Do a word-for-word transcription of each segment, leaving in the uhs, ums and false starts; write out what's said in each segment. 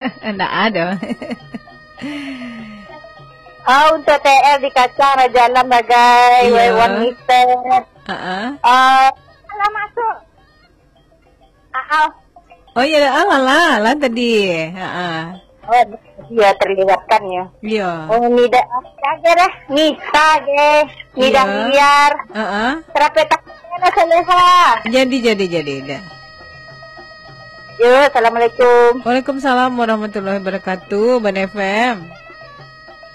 Ndak ado. Ah, untuk T R di kacang, Raja Alam, Bagai, Iya. Wan Mister. Heeh. Ah, alah masuk. Ah, ah. Oh, iya, alah lah, lah tadi. Heeh. Oh, iya, terlewatkan ya. Iya. Oh, Nida, Nida dah. Nisa ge. Nida Iya. Biar. Heeh. Terape tak ada Soleha. Jadi, jadi, jadi, dah. Yo, assalamualaikum. Waalaikumsalam warahmatullahi wabarakatuh, Ban F M.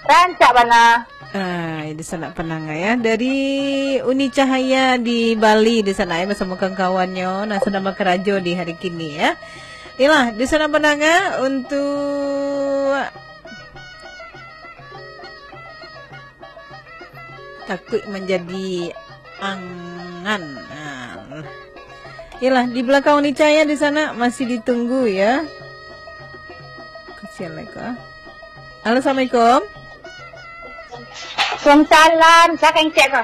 Rancak bana. Ah, di sana penangah ya. Dari Uni Cahaya di Bali di sana ya, bersama kawan-kawannyo. Nah, sedang bakarajo di hari kini ya. Iyalah, di sana penangah untuk takuik manjadi angan. Nah. Iyalah, di belakang Uni Cahaya di sana masih ditunggu ya. Kasihan lah ko. Halo, assalamualaikum. Waalaikumsalam. Siapa yang cek ko?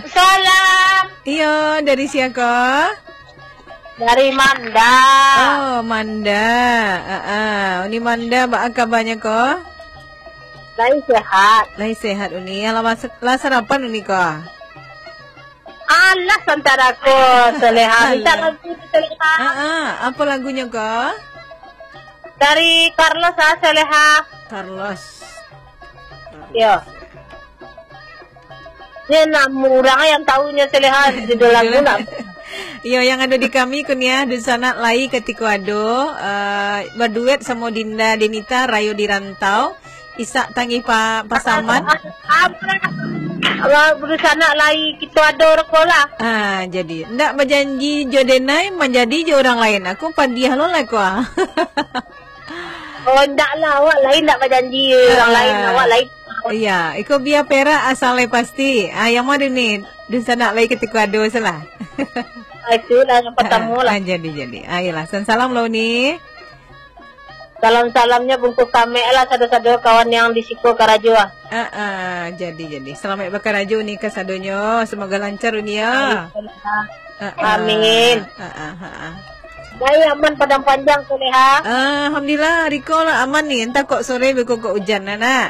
Salam. Iyo, dari sia ko? Dari Manda. Oh, Manda. Ah, ah. Uni Manda, baa kabanyo ko? Lai sehat. Lai sehat, Uni. Alah, mas-, lah sarapan, Uni ko? Alah, santara ko, Soleha. Minta Alah. Lagu, Soleha. Ah, ah. Apa lagunyo ko? Dari Carlos, ah, Soleha. Carlos. Yo. Ni enam urang yang tahunya Soleha, judul lagu nak. Iyo, yang ado di kami, Kuniah, di sana lai katiko ado, eh, baduet samo Dinda Denita, Rayo di Rantau, Isak Tangih Pa-, Pasaman. Alah, di sana lai kito ado rokok lah. Ah, jadi, ndak bajanji jo denai, manjadi jo urang lain. Aku padiah lo lah, kua. Oh, ndak lah, awak lain ndak bajanji urang Ah. Lain, awak lain. Iya, iko bia perak asal lai pasti. Ah, yang mana ni? Dunsanak lai katiko ado salah. Ah, itulah yang pertama Ah, lah. Ah, jadi, jadi. Ah, iyalah. Salam-salam lo ni. Salam-salamnya bungkus kamek lah sado-sado kawan yang di siko karajo ah. Ah, ah, jadi, jadi. Selamat bakarajo ni kasadonyo. Semoga lancar ni ya. Amin. Ah, ah, ah, ah. Baik, aman Padang Panjang, Soleha? Ah, alhamdulillah, hari ko lah aman ni. Entah kok sore beko kok hujan lah, nak.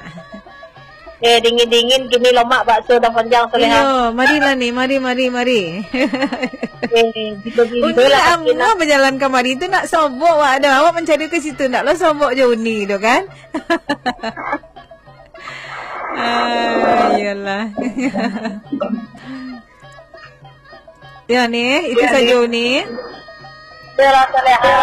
Eh, dingin-dingin, kini lomak bakso Padang Panjang, Soleha. Iyo, marilah ni, mari, mari, mari. Eh, bila-bila Uni lah, lah, Aminah bajalan kamari tu nak sobok, wak, dah. Awak mancari ke situ, nak lo sobok je Uni tu, kan? Ah, iyalah. Ya, ni, itu Ya, saja, ni. Uni. Iyalah, Soleha.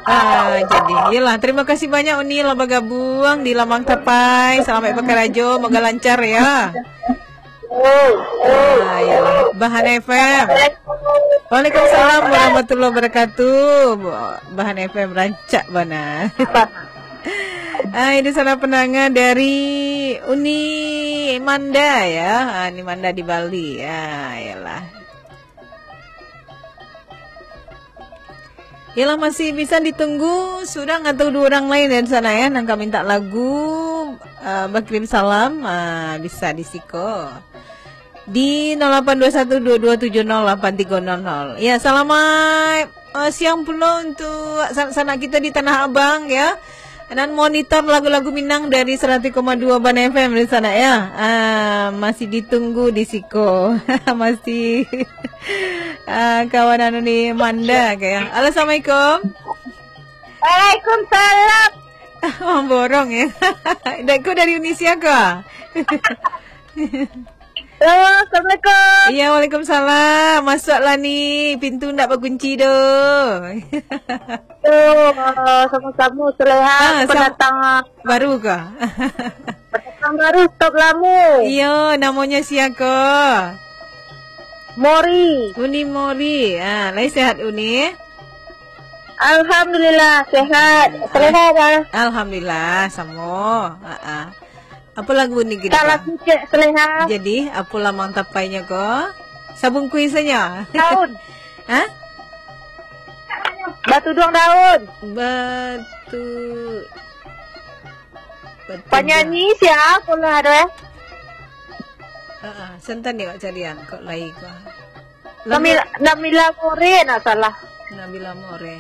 Ah, jadi, iyalah. Terima kasih banyak, Uni, lah bergabung di Lamang Tapai. Selamat bakarajo, moga lancar, ya. Ah, iyalah. Bahan F M. Waalaikumsalam warahmatullahi wabarakatuh. Bahan F M rancak bana. Hai, di sana pendengar dari Uni Manda, ya. Ah, Uni Manda di Bali. Ya, iyalah. Yalah, masih bisa ditunggu surang atau dua orang lain dari sana, ya, nan ka minta lagu, ah, bakirim salam, ah, bisa di siko. Di nol lapan dua satu dua dua tujuh nol lapan tiga nol nol. Ya, selamat, eh, siang pulo untuk sanak-sanak kita di Tanah Abang, ya. Nan monitor lagu-lagu Minang dari seratus koma dua Ban F M di sana, ya. Ah, masih ditunggu di siko. Masih, ah, kawan anu ni, Manda, kayak. Halo, assalamualaikum. Waalaikumsalam. Mamborong, ya. Dek ko dari Uni sia ko? Halo, assalamualaikum. Iya, waalaikumsalam. Masuklah ni, pintu ndak bakunci doh. Yo, eh, sama-sama, Soleha. Ah, sam-, pendatang, ah, baru ko? Pendatang baru, stop lamo. Iyo, namonyo sia ko? Mori. Uni Mori. Ah, lai sehat, Uni? Alhamdulillah, sehat. Soleha, ah? Alhamdulillah, samo. Ah, ah. Apa lagu ni kita, Salah Kak? Sujak, Soleha. Jadi, apa Lamang Tapainyo ko? Sabungkuih saja. Daun. Hah? Batu duang daun. Batu, batu Panyanyi duang. Siapa lah ada, eh? Ah, ah. Santan ni awak carian, kok lai ko. Lagu Namila, Namila More, nak salah. Nabila More.